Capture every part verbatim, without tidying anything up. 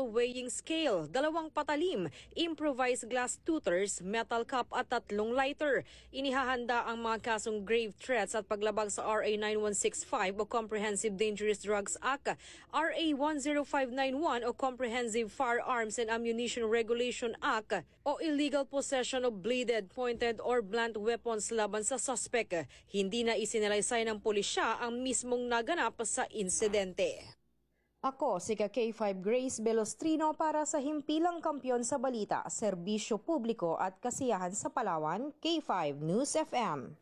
weighing scale, dalawang patalim, improvised glass tutors, metal cup at tatlong lighter. Inihahanda ang mga kasong grave threats at paglabag sa R A nine one six five o Comprehensive Dangerous Drugs Act, R A one zero five nine one o Comprehensive Firearms and Ammunition Regulation Act o illegal possession of bladed, pointed or blunt weapons laban sa suspek. Hindi na isinalaysay ng pulisya ang mismong naganap sa insidente. Ako si ka K five Grace Belostrino para sa Himpilang Kampiyon sa Balita, Serbisyo Publiko at Kasiyahan sa Palawan, K five News F M.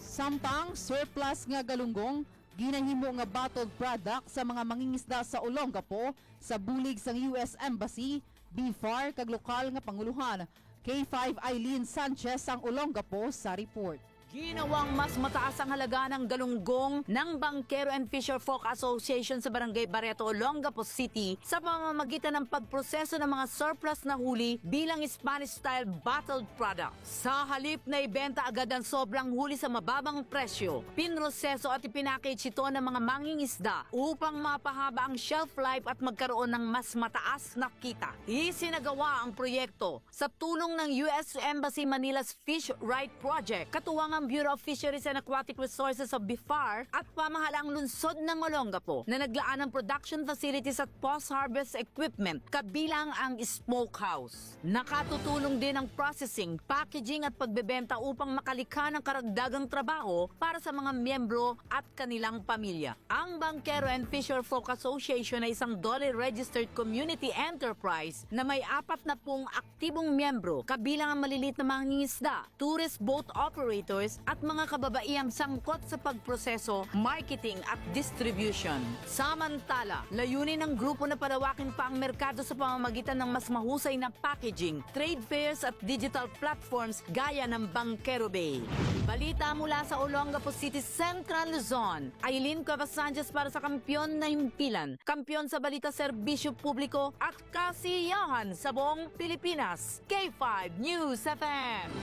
Samtang surplus nga galunggong ginahimo nga bottled product sa mga mangingisda sa Olongapo sa bulig sang U S Embassy, BFAR kag lokal nga panguluhan. K five Eileen Sanchez ang Olongapo sa report. Ginawang mas mataas ang halaga ng galunggong ng Bankero and Fisher Folk Association sa Barangay Barreto, Olongapo City sa pamamagitan ng pagproseso ng mga surplus na huli bilang Spanish-style bottled product. Sa halip na ibenta agad ang sobrang huli sa mababang presyo, pinroseso at ipinackage ito ng mga mangingisda upang mapahaba ang shelf life at magkaroon ng mas mataas na kita. Isinagawa ang proyekto sa tulong ng U S Embassy Manila's Fish Right Project, katuwang ang Bureau of Fisheries and Aquatic Resources of BFAR at pamahalaang lungsod ng Olongapo na naglaan ng production facilities at post-harvest equipment, kabilang ang smokehouse. Nakatutulong din ang processing, packaging at pagbebenta upang makalikha ng karagdagang trabaho para sa mga miyembro at kanilang pamilya. Ang Bankero and Fisher Folk Association ay isang DOLE registered community enterprise na may apat na pung aktibong miyembro, kabilang ang maliliit na mangingisda, tourist boat operators at mga kababaihang sangkot sa pagproseso, marketing at distribution. Samantala, layunin ng grupo na palawakin pa ang merkado sa pamamagitan ng mas mahusay na packaging, trade fairs at digital platforms gaya ng Bankero Bay. Balita mula sa Olongapo City, Central Luzon. Aileen Cuevas Sanchez para sa Kampiyon na Himpilan, kampiyon sa balita, serbisyo publiko at kasiyahan sa buong Pilipinas. K five News F M.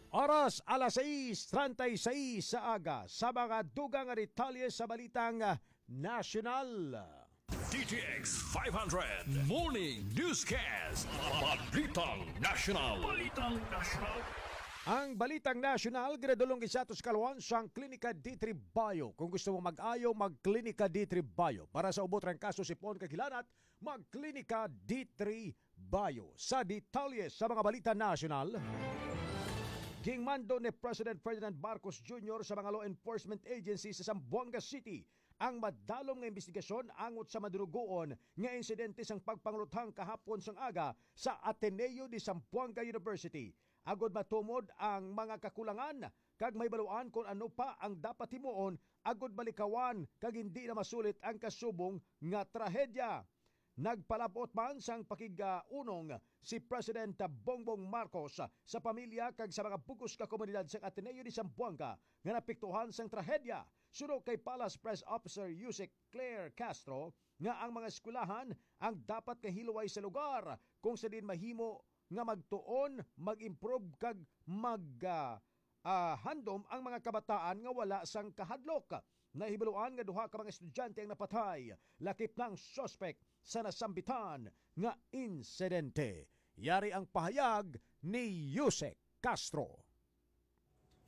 Oras alas sais treinta y seis sa aga. Sa mga dugang nga detalye sa balitang, ah, nasyonal. D T X five hundred Morning Newscast. Balitang Nasyonal. Balitang Nasyonal. Ang balitang nasyonal ginadulong gid sa aton sa kaluan sang Klinika D three Bio. Kung gusto mo mag-ayo, mag-Klinika D three Bio. Para sa ubot rang kaso, sipon kag hilanat, mag-Klinika D three Bio. Sa detalye sa mga balita nasyonal, ginmando ni President Ferdinand Marcos Junior sa mga law enforcement agencies sa Zamboanga City ang madalom nga imbestigasyon angot sa madurugoon nga insidente sang pagpangulothang kahapon sang aga sa Ateneo de Zamboanga University, agod matumod ang mga kakulangan kag mahibaluan kon ano pa ang dapat himuon agod malikawan kag hindi na masulit ang kasubong nga trahedya. Nagpalabot man sang pakig-unong si President Bongbong Marcos sa pamilya kag sa mga bug-os nga komunidad sang Ateneo de Zamboanga nga naapektuhan sang trahedya. Suno kay Palace Press Officer Yusek Claire Castro, nga ang mga eskwelahan ang dapat nga hilway sa lugar kung sa diin mahimo nga magtuon, mag-improve kag mag, ah, ah, handom ang mga kabataan nga wala sang kahadlok. Nahibaluan nga duha ka mga estudyante ang napatay, lakip na ang suspek sa nasambitan nga insidente. Yari ang pahayag ni Yusek Castro.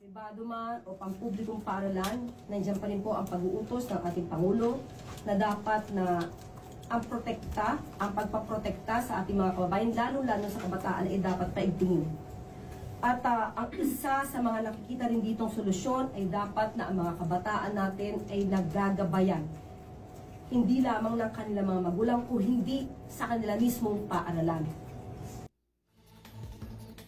Pribado man o pampublikong paaralan, nandiyan pa rin po ang pag-uutos ng ating Pangulo na dapat na ang protekta, ang pagpaprotekta sa ating mga kababayan, lalo-lalo sa kabataan, ay dapat paigtingin. At, ah, ang isa sa mga nakikita rin ditong solusyon ay dapat na ang mga kabataan natin ay nagagabayan, hindi lamang ng kanilang mga magulang, kung hindi sa kanila mismong paaralan.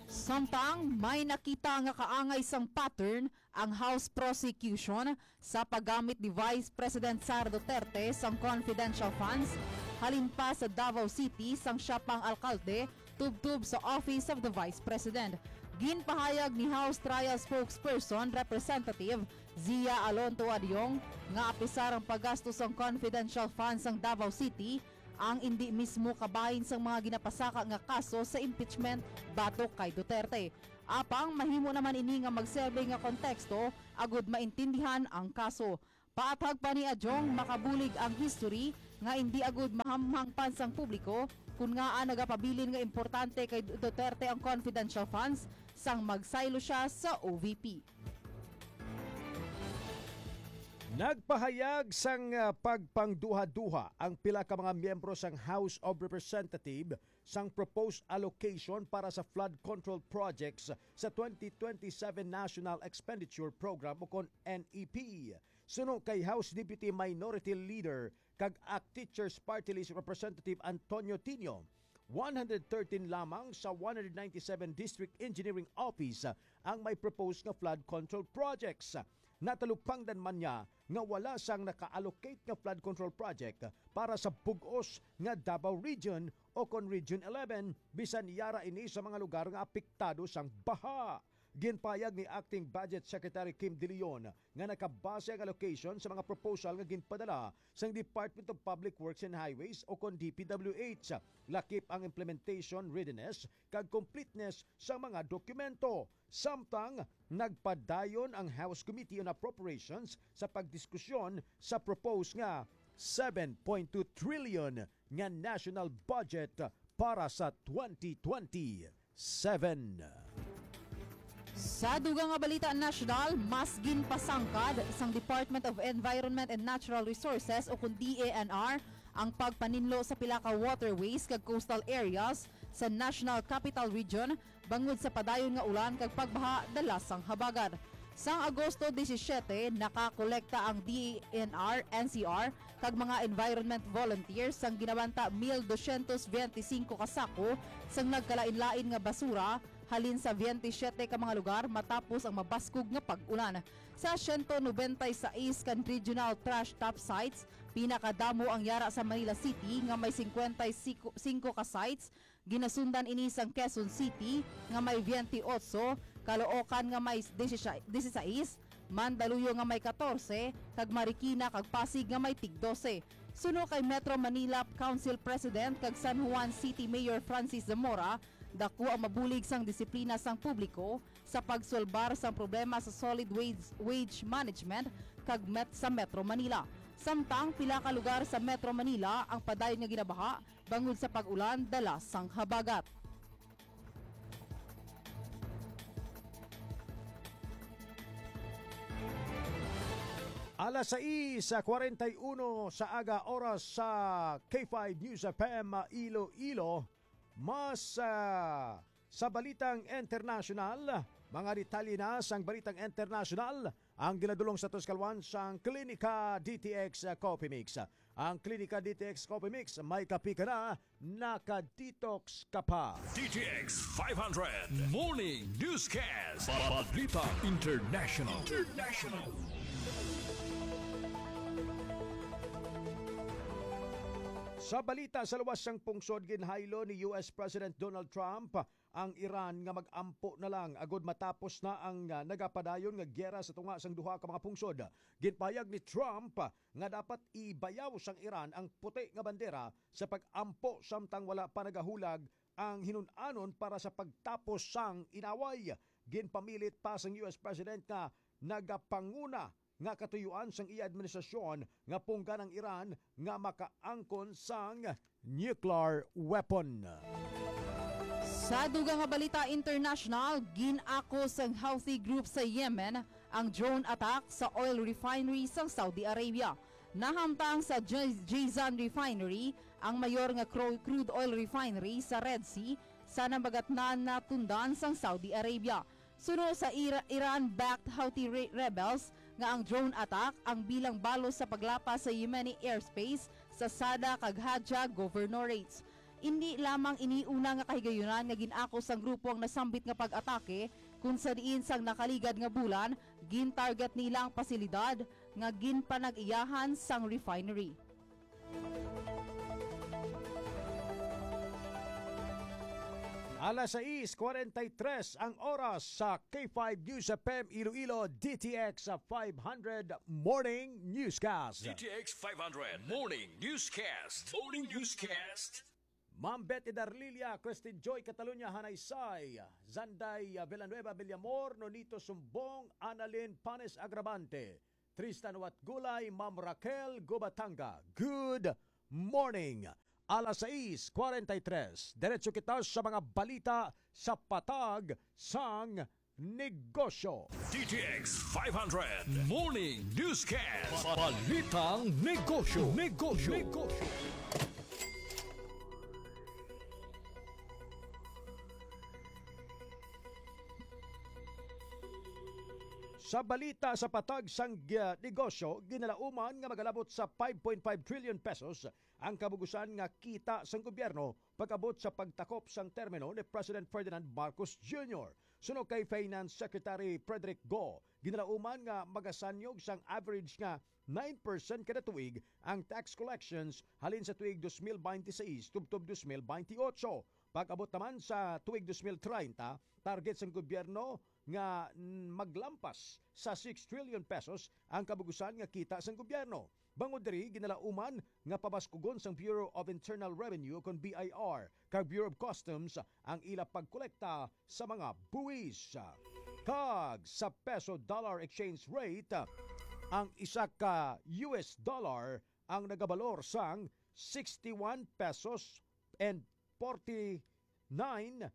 Samtang may nakita nga kaangay sang pattern ang House Prosecution sa paggamit ni Vice President Sara Duterte sang confidential funds halin pa sa Davao City sang siya pang alkalde tubtob sa Office of the Vice President. Ginpahayag ni House Trial Spokesperson Representative Zia Alonto Adiong nga apisar ang paggasto sang confidential funds sang Davao City ang indi mismo kabahin sang mga ginapasaka nga kaso sa impeachment batok kay Duterte. Apang mahimo naman ini nga magserbe nga konteksto agud maintindihan ang kaso. Paathag pa ni Adiong, makabulig ang history nga indi agud mahamhang pa sang publiko kon ngaa nagapabilin nga importante kay Duterte ang confidential funds sang magsaylo sia sa O V P. Nagpahayag sang, ah, pagpangduha-duha ang pila ka mga miyembro sang House of Representative sang proposed allocation para sa flood control projects sa twenty twenty-seven National Expenditure Program, o kon N E P. Suno kay House Deputy Minority Leader kag ACT Teachers Party List Representative Antonio Tinio, one hundred thirteen lamang sa one hundred ninety-seven District Engineering Office ang may proposed nga flood control projects. Natalupangdan man niya nga wala sang naka-allocate nga flood control project para sa bug-os nga Davao Region, o kon Region eleven, bisan yara ini sa mga lugar nga apektado sang baha. Ginpahayag ni Acting Budget Secretary Kim De Leon nga nakabase ang allocation sa mga proposal nga ginpadala sang Department of Public Works and Highways, o kon D P W H. Lakip ang implementation readiness kag completeness sa mga dokumento. Samtang nagpadayon ang House Committee on Appropriations sa pagdiskusyon sa proposed nga seven point two trillion nga national budget para sa twenty twenty-seven. Sa dugang nga balita nasyonal, mas ginpasangkad sang Department of Environment and Natural Resources, o kon D E N R, ang pagpaninlo sa pila ka waterways kag coastal areas sa National Capital Region bangod sa padayon nga ulan kag pagbaha dala sang habagat. Sang Agosto disisiete, nakakolekta ang D E N R, N C R, kag mga environment volunteers sang ginabanta mil dosyentos benti singko ka sako sang nagkalain-lain nga basura halin sa benti siyete ka mga lugar matapos ang mabaskog nga pag-ulan. Sa siyento nobenta y sais ka regional trash dump sites, pinakadamo ang yara sa Manila City nga may singkwenta y singko ka sites. Ginasundan ini sang Quezon City nga may benti otso, Caloocan nga may disisais, Mandaluyong nga may katorse, kag Marikina kag Pasig nga may tig dose. Suno kay Metro Manila Council President kag San Juan City Mayor Francis Zamora, dako ang mabulig sang disiplina sang publiko sa pagsolbar sang problema sa solid wage, wage management kag met sa Metro Manila. Samtang pila ka lugar sa Metro Manila ang padayon nga ginabaha bangod sa pag-ulan dala sang habagat. Alas sais kwarenta y uno sa aga, oras sa K five News F M Iloilo. Mas, ah, sa balitang internasyonal, mga detalye na sang balitang internasyonal ang ginadulong sa aton kalwan sang Klinika D T X Coffee Mix. Ang Klinika D T X Coffee Mix, may kape ka na, naka-detox ka pa. D T X five hundred Morning Newscast. Balita International. International. Sa balita sa luwas sang pungsod, ginhaylo ni U S President Donald Trump ang Iran nga mag-ampo na lang agud matapos na ang, ah, nagapadayon nga giyera sa tunga sang duha ka mga pungsod. Ginpahayag ni Trump nga dapat ibayaw sang Iran ang puti nga bandera sa pag-ampo samtang wala pa nagahulag ang hinun-anon para sa pagtapos sang inaway. Ginpamilit pa sang U S President nga nagapanguna nga katuyuan sang iya administrasyon nga punggan ang Iran nga makaangkon sang nuclear weapon. Sa dugang nga balita international, gin-ako sang Houthi group sa Yemen ang drone attack sa oil refinery sang Saudi Arabia. Nahamtang sa J-, Jizan Refinery, ang mayor nga cru-, crude oil refinery sa Red Sea, sa nabagatnan nga tundan sang Saudi Arabia. Suno sa Ira-, Iran-backed Houthi re-, rebels nga ang drone attack ang bilang balos sa paglapas sa Yemeni airspace sa Sada kag Haja governorates. Indi lamang ini una nga kahigayunan nga gin-ako sang grupo ang nasambit nga pag-atake, kun sa diin sang nakaligad nga bulan, gin-target nila ang pasilidad nga ginpanag-iyahan sang refinery. Alas sais kwarenta y tres ang oras sa K five News F M Iloilo, D T X five hundred Morning Newscast. D T X five hundred Morning Newscast. Morning Newscast. Ma'am Betty Darlilia, Christine Joy Catalunya, Hanay Say, Zanday Villanueva Villamor, Nonito Sumbong, Annalyn Panes Agravante, Tristan Watgulay, Ma'am Raquel Gubatanga. Good Morning. Alas sais cuarenta y tres, diretso kita sa mga balita sa Patag sang Negosyo. D T X five hundred Morning Newscast. Balitang Negosyo. Negosyo. Negosyo. Sa balita sa Patag sang, ah, Negosyo, ginalauman nga magalabot sa five point five trillion pesos ang kabugusan nga kita sang gobyerno pag-abot sa pagtakop sang termino ni President Ferdinand Marcos Junior. Suno kay Finance Secretary Frederick Go, ginalauman nga magasanyog sang average nga nine percent kada tuig ang tax collections halin sa tuig dos mil binte seis tubtob dos mil binte otso. Pag-abot naman sa tuig dos mil treinta, target sang gobyerno nga, mm, maglampas sa six trillion pesos ang kabugusan nga kita sang gobyerno. Bangod diri, ginalauman nga pabaskugon sang Bureau of Internal Revenue, kon B I R, kag Bureau of Customs ang ila pagkolekta sa mga buwis. Kag sa peso dollar exchange rate, ang isa ka U S dollar ang nagabalor sang sixty-one pesos and forty-nine,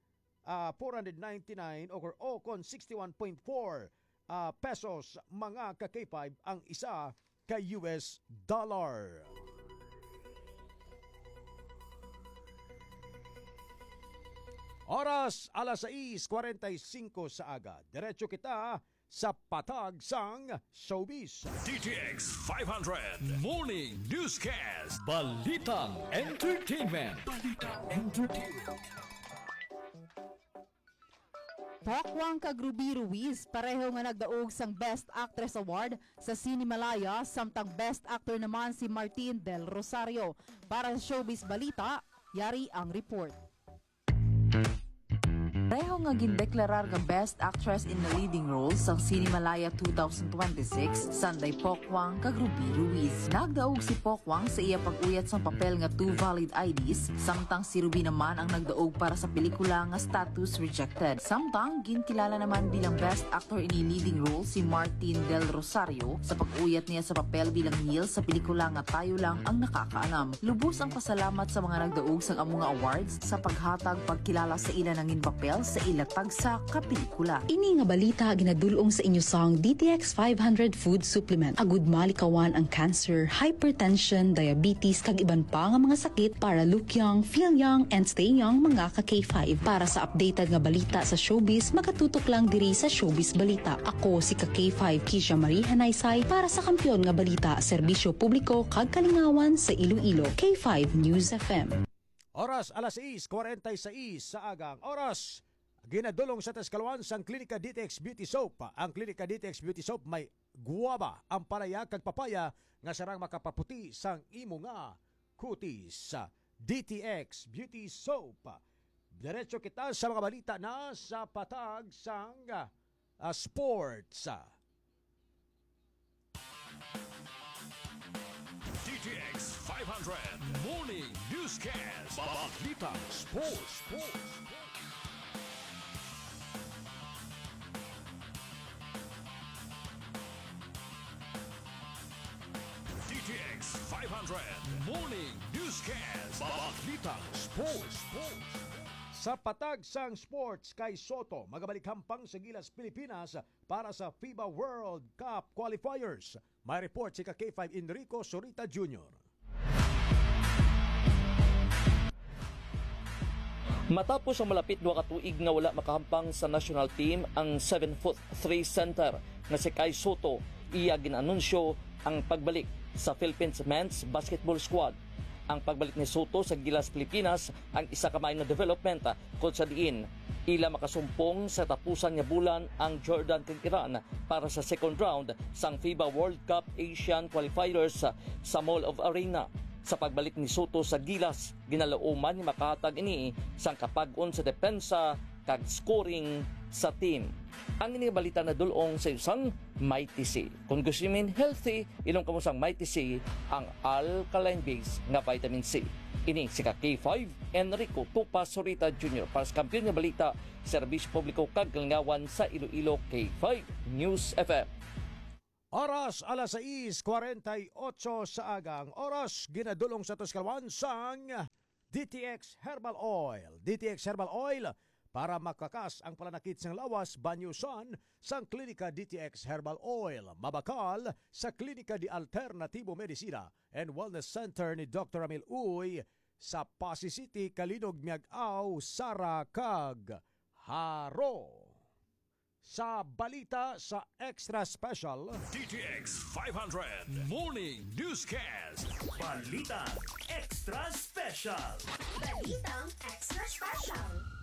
ah, four hundred ninety-nine, o, o kon sixty-one point four, ah, pesos, mga ka K five, ang isa ka U S dollar. Oras, alas sais cuarenta y cinco sa aga. Diretso kita sa Patag sang Showbiz. D T X five hundred Morning Newscast. Balitang Entertainment. Balitang Entertainment. Pok Wang kag Ruby Ruiz pareho nga nagdaog sang Best Actress Award sa Cinemalaya, samtang Best Actor naman si Martin Del Rosario. Para sa Showbiz Balita, yari ang report. Pareho nga gindeklarar nga Best Actress in a Leading Role sang Cinemalaya two thousand twenty-six, sanday Pok Wang kag Ruby Ruiz. Nagdaog si Pok Wang sa iya pag-uyat sang papel nga Two Valid I Ds, samtang si Ruby naman ang nagdaog para sa pelikula nga Status Rejected. Samtang ginkilala naman bilang Best Actor in a Leading Role si Martin Del Rosario sa pag-uyat niya sa papel bilang Neil sa pelikula nga Tayo Lang ang Nakakaalam. Lubos ang pasalamat sa mga nagdaog sang amo nga awards sa paghatag pagkilala sa ila nangin papel sa ila tagsa ka pelikula. Ini nga balita ginadul-ong sa inyo sang D T X five hundred Food Supplement. Agud malikawan ang cancer, hypertension, diabetes, kag iban pa nga mga sakit para look young, feel young, and stay young, mga ka K five. Para sa updated nga balita sa showbiz, makatutok lang diri sa Showbiz Balita. Ako si ka K five Kisha Marie Hanaysay para sa Kampiyon nga Balita, Serbisyo Publiko kag Kalingawan sa Iloilo, K five News F M. Oras, alas sais cuarenta y seis sa aga ang oras. Ginadulong sa Tascaloocan sang Klinika D T X Beauty Soap. Ang Klinika D T X Beauty Soap may guwaba, ampalaya, kag papaya nga sarang makapaputi sang imo nga kutis. D T X Beauty Soap. Diretso kita sa mga balita na sa Patag sang, ah, sports. D T X five hundred Morning Newscast. Balitang Sports. D T X five hundred Morning Newscast. Balitang Sports. Sa patag sang sports, Kai Sotto magabalik hampang sa Gilas, Pilipinas para sa FIBA World Cup qualifiers. May report si ka K five Enrico Sorita Junior. Matapos ang malapit duha ka tuig nga wala makahampang sa national team ang seven foot three center nga si Kai Sotto, iya gin-anunsyo ang pagbalik sa Philippines men's basketball squad. Ang pagbalik ni Sotto sa Gilas, Pilipinas, ang isa ka maayo nga development, kung sa diin ila makasumpong sa tapusan nga bulan ang Jordan kag Iran para sa second round sang FIBA World Cup Asian Qualifiers sa Mall of Arena. Sa pagbalik ni Sotto sa Gilas, ginalauman nga makahatag ini sang kapag-on sa depensa kag scoring sa team. Ang ini nga balita nadul-ong sa inyo sang Mighty C. Kung gusto niyo healthy, inom kamo sang Mighty C, ang alkaline base nga vitamin C. Ini si ka K five, Enrico Tupa Sorita Junior para sa Kampiyon nga Balita, Serbisyo Publiko kag Kalingawan sa Iloilo, K five News F M. Oras, alas sais kwarenta y ocho sa agang. Oras, ginadulong sa tos kalwan sang D T X Herbal Oil. D T X Herbal Oil para makakas ang palanakit sang lawas, banyo sang Klinika D T X Herbal Oil. Mabakal sa Klinika de Alternativo Medicina and Wellness Center ni Doktor Ramil Uy sa Passi City, Calinog, Miag-ao, Sara, kag Jaro. Sa balita sa Extra Special, D T X five hundred Morning Newscast. Balitang Extra Special. Balitang Extra Special.